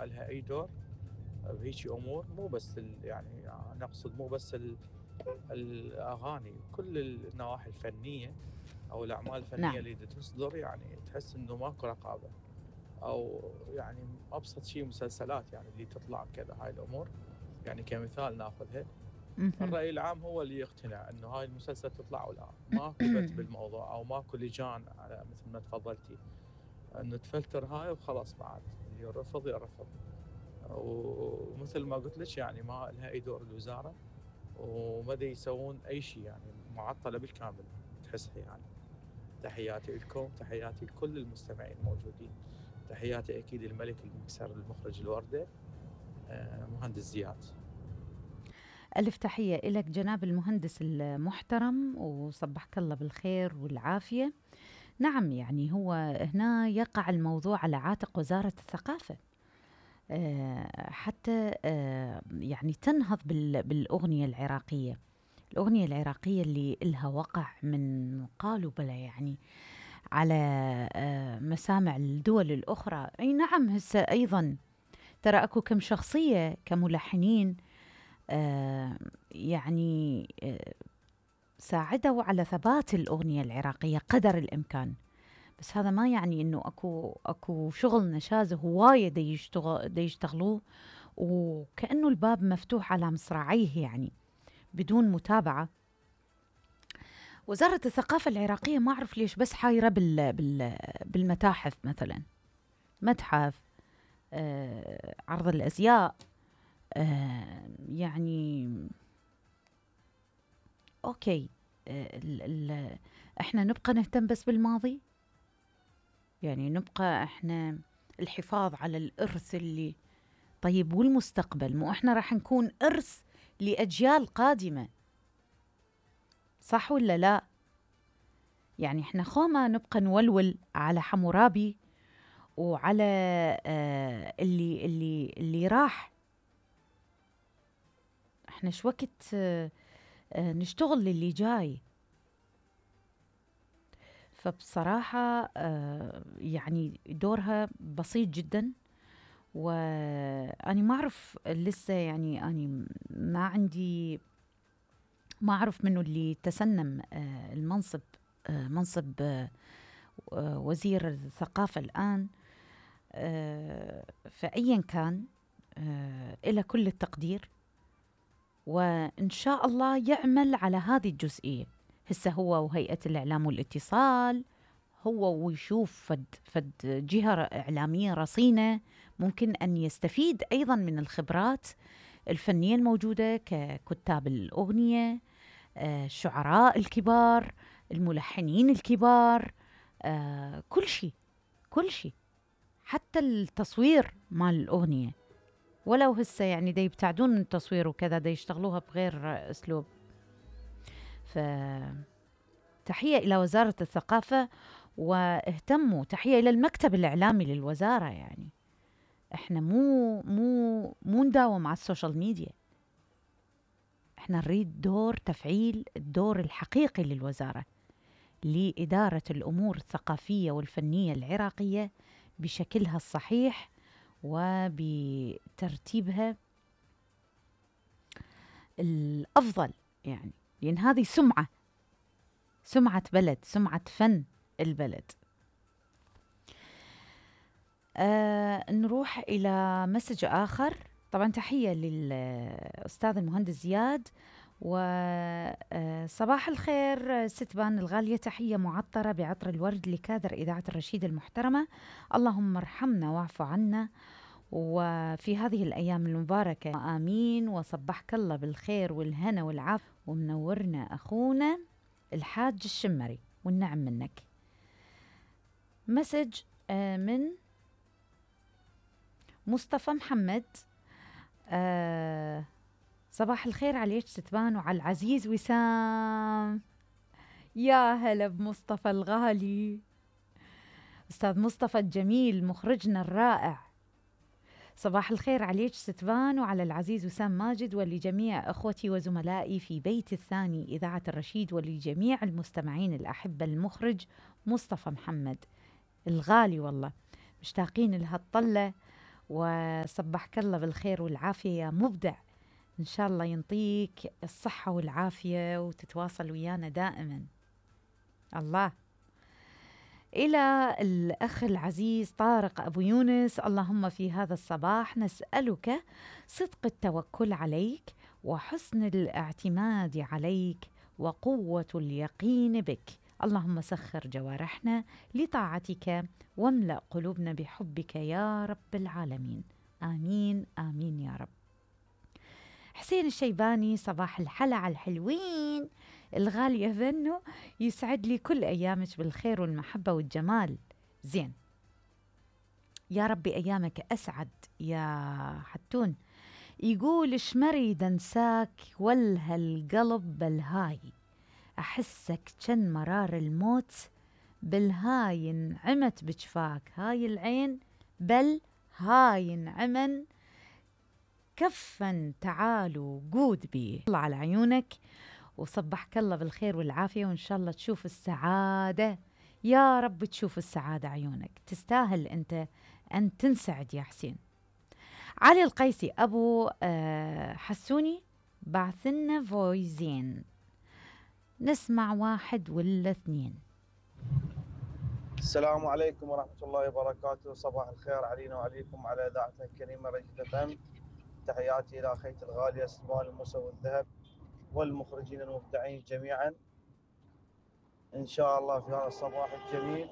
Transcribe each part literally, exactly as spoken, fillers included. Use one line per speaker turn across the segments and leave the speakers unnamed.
ما لها اي دور بهيجي امور، مو بس يعني نقصد مو بس الاغاني، كل النواحي الفنيه او الاعمال الفنيه
نعم.
اللي تصدر، يعني تحس انه ماكو رقابه. او يعني ابسط شيء مسلسلات يعني اللي تطلع كذا، هاي الامور يعني كمثال ناخذها.
مهم.
الراي العام هو اللي يقتنع انه هاي المسلسل تطلع ولا ماكو بت بالموضوع، او ماكو لجان على مثل ما تفضلتي انه تفلتر هاي وخلاص، بعد اللي يرفض يرفض. ومثل ما قلت لك يعني ما لها اي دور الوزاره، وما يسوون اي شيء، يعني معطله بالكامل تحسها يعني. تحياتي لكم، تحياتي لكل المستمعين الموجودين، تحياتي اكيد الملك المكسر المخرج الورده آه، مهندس زياد.
ألف تحية إلك جناب المهندس المحترم، وصبحك الله بالخير والعافية. نعم، يعني هو هنا يقع الموضوع على عاتق وزارة الثقافة، آه، حتى آه، يعني تنهض بالأغنية العراقية. الأغنية العراقية اللي إلها وقع من قالوا بلا يعني على آه، مسامع الدول الأخرى. أي نعم، هسه أيضا ترى أكو كم شخصية كملحنين آه، يعني آه، ساعدوا على ثبات الأغنية العراقية قدر الإمكان. بس هذا ما يعني إنه أكو أكو شغل نشاز هواية دي يشتغل دي يشتغلوه، وكأنه الباب مفتوح على مصراعيه يعني بدون متابعة. وزارة الثقافة العراقية ما أعرف ليش بس حايرة بال بال بالمتاحف مثلا، متحف آه، عرض الأزياء آه، يعني أوكي. آه، ال ال إحنا نبقى نهتم بس بالماضي، يعني نبقى إحنا الحفاظ على الإرث اللي طيب، والمستقبل مو إحنا راح نكون إرث لأجيال قادمة، صح ولا لا؟ يعني إحنا خوما نبقى نولول على حمورابي وعلى آه اللي اللي اللي راح. إحنا شو وقت آه آه نشتغل للي جاي. فبصراحة آه يعني دورها بسيط جدا، وأنا ما أعرف لسه، يعني أنا ما عندي، ما أعرف منه اللي تسنم آه المنصب، آه منصب آه وزير الثقافة الآن. آه فأيا كان آه إلى كل التقدير، وإن شاء الله يعمل على هذه الجزئية. هسه هو وهيئة الإعلام والاتصال، هو ويشوف فد, فد جهة إعلامية رصينة ممكن أن يستفيد أيضا من الخبرات الفنية الموجودة ككتاب الأغنية، آه، الشعراء الكبار، الملحنين الكبار، آه، كل شيء كل شيء، حتى التصوير مال الأغنية. ولو هسه يعني دا يبتعدون من التصوير وكذا، دا يشتغلوها بغير أسلوب. فتحية إلى وزارة الثقافة، واهتموا، تحية إلى المكتب الإعلامي للوزارة. يعني إحنا مو مو مو نداوم على السوشيال ميديا، إحنا نريد دور تفعيل الدور الحقيقي للوزارة لإدارة الأمور الثقافية والفنية العراقية بشكلها الصحيح وبترتيبها الأفضل، يعني لأن هذه سمعة سمعة بلد، سمعة فن البلد. آه نروح إلى مسج آخر. طبعا تحية للأستاذ المهندس زياد، وصباح الخير ستبان الغالية، تحية معطرة بعطر الورد لكادر إذاعة الرشيد المحترمة، اللهم ارحمنا واعف عنا وفي هذه الأيام المباركة آمين. وصبحك الله بالخير والهنا والعافية، ومنورنا أخونا الحاج الشمري والنعم منك. مسج آه من مصطفى محمد. آه صباح الخير عليك ستبان وعلى العزيز وسام. يا هلا بمصطفى الغالي، أستاذ مصطفى الجميل مخرجنا الرائع. صباح الخير عليك ستبان وعلى العزيز وسام ماجد، ولجميع أخوتي وزملائي في بيت الثاني إذاعة الرشيد، ولجميع المستمعين الأحبة. المخرج مصطفى محمد الغالي، والله مشتاقين لهالطلة وصبحك الله بالخير والعافية يا مبدع. إن شاء الله ينطيك الصحة والعافية وتتواصل ويانا دائما. الله. إلى الأخ العزيز طارق أبو يونس: اللهم في هذا الصباح نسألك صدق التوكل عليك وحسن الاعتماد عليك وقوة اليقين بك. اللهم سخر جوارحنا لطاعتك واملأ قلوبنا بحبك يا رب العالمين. آمين آمين يا رب. حسين الشيباني: صباح الحلا على الحلوين الغالية ذنو، يسعد لي كل أيامك بالخير والمحبة والجمال. زين، يا ربي أيامك أسعد يا حتون. يقول: شمري دنساك ولها القلب بالهاي، أحسك كان مرار الموت بالهاي انعمت بجفاك، هاي العين بل هاي انعمن كفا تعالوا قود بيه. الله على عيونك وصبحك الله بالخير والعافية، وإن شاء الله تشوف السعادة يا رب، تشوف السعادة عيونك، تستاهل أنت أن تنسعد يا حسين. علي القيسي: أبو آه حسوني بعثنا فويزين، نسمع واحد ولا اثنين.
السلام عليكم ورحمة الله وبركاته. صباح الخير علينا وعليكم على إذاعتنا الكريمة رشيد فم. تحياتي إلى أخيتي الغالية سلمان الموسى والذهب والمخرجين المبدعين جميعا. إن شاء الله في هذا الصباح الجميل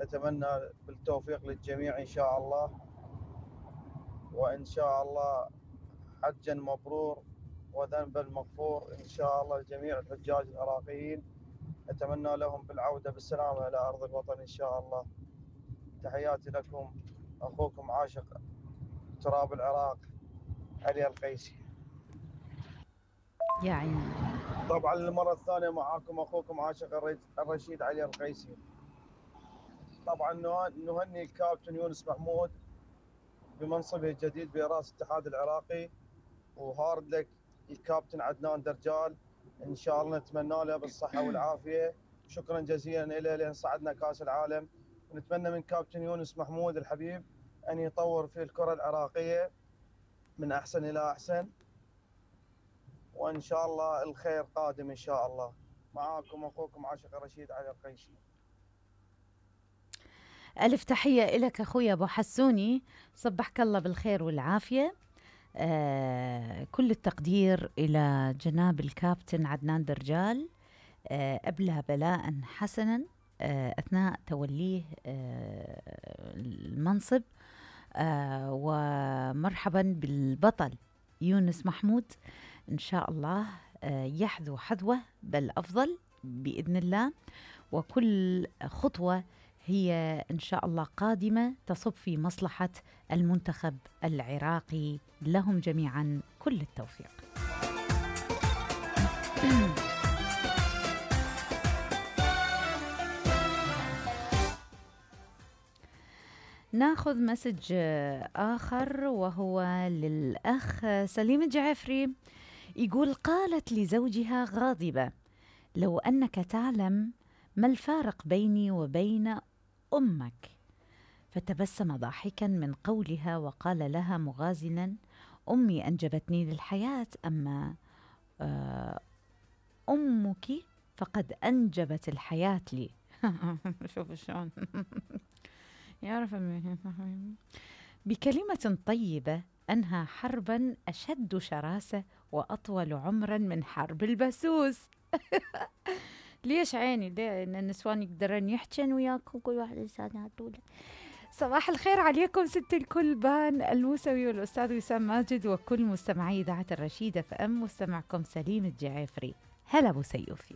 نتمنى بالتوفيق للجميع إن شاء الله، وإن شاء الله حجا مبرور وذنبا مغفور إن شاء الله. لجميع الحجاج العراقيين نتمنى لهم بالعودة بالسلامة إلى أرض الوطن إن شاء الله. تحياتي لكم، أخوكم عاشق تراب العراق علي القيسي.
يا عيني.
طبعا المرة الثانية معاكم أخوكم عاشق الرشيد علي القيسي. طبعا نهني الكابتن يونس محمود بمنصبه الجديد برئاسة الاتحاد العراقي، وهارد لك الكابتن عدنان درجال، إن شاء الله نتمنى له بالصحة والعافية. شكرا جزيلا له لأن صعدنا كأس العالم، ونتمنى من كابتن يونس محمود الحبيب أن يطور في الكرة العراقية من أحسن إلى أحسن، وإن شاء الله الخير قادم إن شاء الله. معاكم أخوكم عاشق الرشيد علي القيسي.
ألف تحية لك أخوي أبو حسوني، صبحك الله بالخير والعافية. آه كل التقدير إلى جناب الكابتن عدنان درجال، آه أبلى بلاء حسنا آه أثناء توليه آه المنصب، آه ومرحبا بالبطل يونس محمود. إن شاء الله آه يحذو حذوه بل أفضل بإذن الله، وكل خطوة هي إن شاء الله قادمة تصب في مصلحة المنتخب العراقي. لهم جميعا كل التوفيق. ناخذ مسج آخر وهو للأخ سليم الجعفري، يقول: قالت لزوجها غاضبة: لو أنك تعلم ما الفارق بيني وبين أمك. فتبسم ضاحكا من قولها وقال لها مغازلا: أمي أنجبتني للحياة، أما أمك فقد أنجبت الحياة لي. شوف شلون يعرف. بكلمة طيبة أنهى حربا أشد شراسة وأطول عمرا من حرب البسوس. ليش عيني؟ ليه؟ إن النسوان يقدرن يحجن وياكم كل واحد لسانها طوله. صباح الخير عليكم ست الكل، بان الموسوي والأستاذ وسام ماجد وكل مستمعي إذاعة الرشيدة فأم. مستمعكم سليم الجعفري. هلا أبو سيوفي.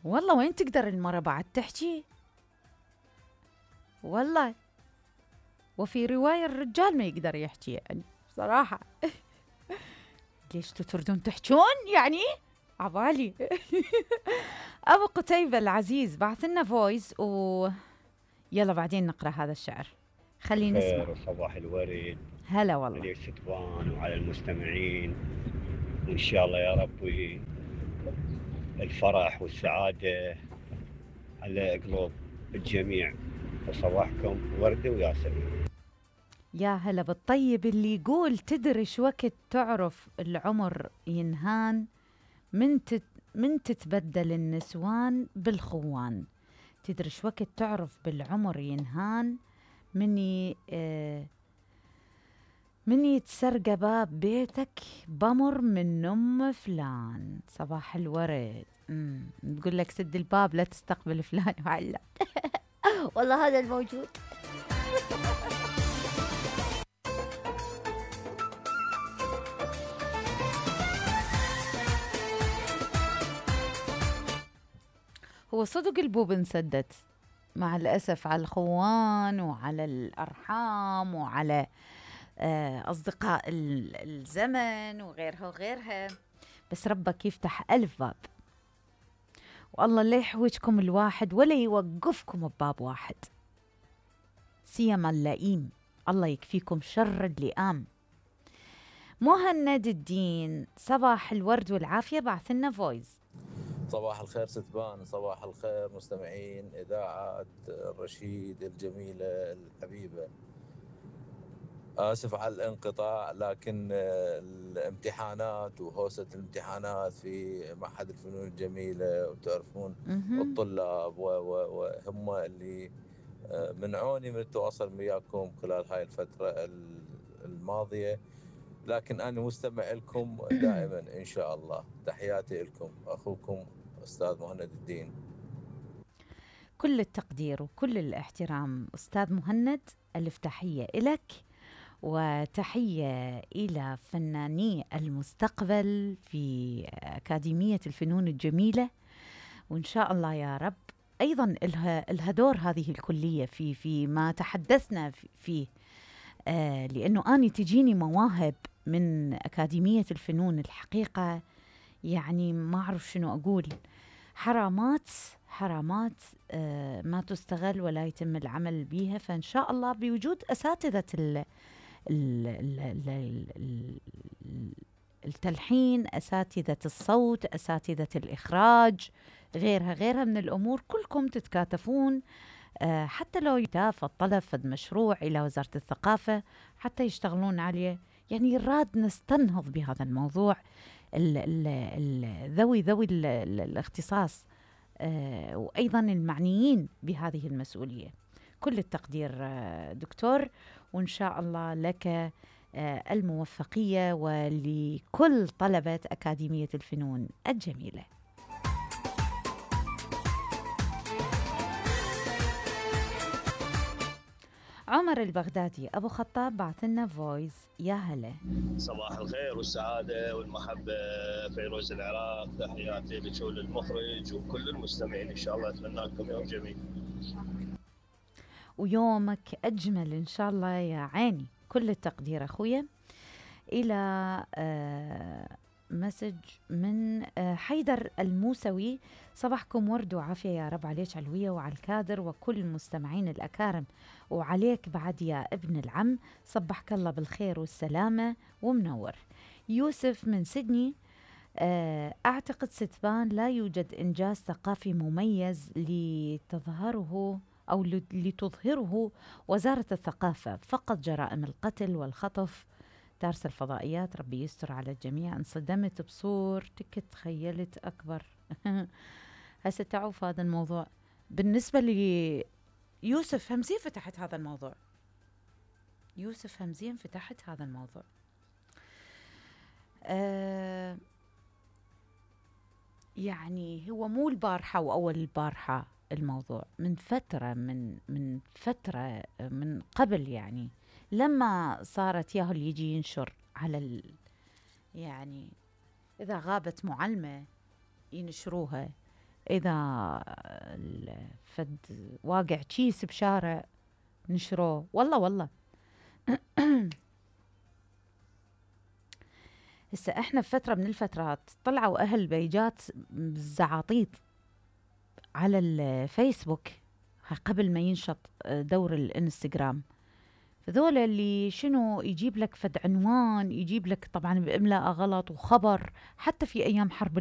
والله وين تقدر المرة بعد تحكي؟ والله وفي رواية الرجال ما يقدر يحكي يعني بصراحة. ليش تردون تحجون يعني؟ عبالي. أبو قتيبة العزيز بعث لنا فويس و يلا بعدين نقرأ هذا الشعر. خلينا نسمع.
صباح الورد.
هلا والله.
على الشطبان وعلى المستمعين وإن شاء الله يا رب الفرح والسعادة على قلوب الجميع، وصباحكم وردة وياسمين.
يا هلا بالطيب اللي يقول تدري شو وقت تعرف العمر ينهان، من تت من تتبدل النسوان بالخوان. تدري شو وقت تعرف بالعمر ينهان، مني آه من يتسرق باب بيتك بمر من ام فلان. صباح الورد. امم تقول لك سد الباب لا تستقبل فلان وعلا. والله هذا الموجود. هو صدق البوب انسدت مع الأسف على الخوان وعلى الأرحام وعلى آه أصدقاء الزمن وغيرها وغيرها، بس ربك يفتح ألف باب، والله لا يحوجكم الواحد ولا يوقفكم بباب واحد، سيما اللئيم، الله يكفيكم شر اللئام. مهند الدين، صباح الورد والعافية، بعث لنا فويس.
صباح الخير ستبان، صباح الخير مستمعين إذاعة الرشيد الجميلة الحبيبة. آسف على الانقطاع، لكن الامتحانات وهوسة الامتحانات في معهد الفنون الجميلة، وتعرفون الطلاب وهم اللي منعوني من التواصل وياكم خلال هاي الفترة الماضية، لكن أنا مستمع لكم دائما إن شاء الله. تحياتي لكم، أخوكم أستاذ مهند الدين.
كل التقدير وكل الاحترام أستاذ مهند، ألف تحية إلك وتحية إلى فناني المستقبل في أكاديمية الفنون الجميلة، وإن شاء الله يا رب أيضا لها دور هذه الكلية في في ما تحدثنا فيه، آه لأنه أنا تجيني مواهب من أكاديمية الفنون الحقيقة، يعني ما أعرف شنو أقول، حرامات حرامات آه ما تستغل ولا يتم العمل بها. فإن شاء الله بوجود أساتذة ال ال ال ال التلحين، أساتذة الصوت، أساتذة الإخراج، غيرها غيرها من الأمور، كلكم تتكاتفون آه حتى لو يتافى الطلب فد مشروع إلى وزارة الثقافة حتى يشتغلون عليه. يعني راد نستنهض بهذا الموضوع، ال ال ال ذوي ذوي ال ال الاختصاص آه وأيضا المعنيين بهذه المسؤولية. كل التقدير آه دكتور، وإن شاء الله لك آه الموفقية ولكل طلبة أكاديمية الفنون الجميلة. عمر البغدادي أبو خطاب بعث لنا فويس. يا هلا.
صباح الخير والسعادة والمحبة، فيروز العراق، تحياتي لك وللمخرج وكل المستمعين، إن شاء الله أتمنى لكم يوم جميل
ويومك أجمل إن شاء الله يا عيني. كل التقدير أخويا. إلى آه مسج من آه حيدر الموسوي، صباحكم ورد وعافية يا رب عليك علوية وعلى الكادر وكل المستمعين الأكارم، وعليك بعد يا ابن العم، صبحك الله بالخير والسلامة ومنور. يوسف من سيدني، آه أعتقد ستبان لا يوجد إنجاز ثقافي مميز لتظهره أو لتظهره وزارة الثقافة، فقط جرائم القتل والخطف، تارس الفضائيات. ربي يستر على الجميع. انصدمت بصورتك، تخيلت أكبر. هسه تعوف هذا الموضوع بالنسبة لي. يوسف همزين فتحت هذا الموضوع، يوسف همزين فتحت هذا الموضوع. آه يعني هو مو البارحة وأول البارحة الموضوع، من فترة من من فترة من قبل، يعني لما صارت ياهو اللي يجي ينشر على ال يعني إذا غابت معلمة ينشروها، إذا فد واقع كيس بشارع نشروه، والله والله. هسه احنا بفترة من الفترات طلعوا أهل بيجات بالزعاطيط على الفيسبوك قبل ما ينشط دور الانستغرام، ذولا اللي شنو يجيب لك فد عنوان، يجيب لك طبعا بإملاء غلط وخبر، حتى في أيام حرب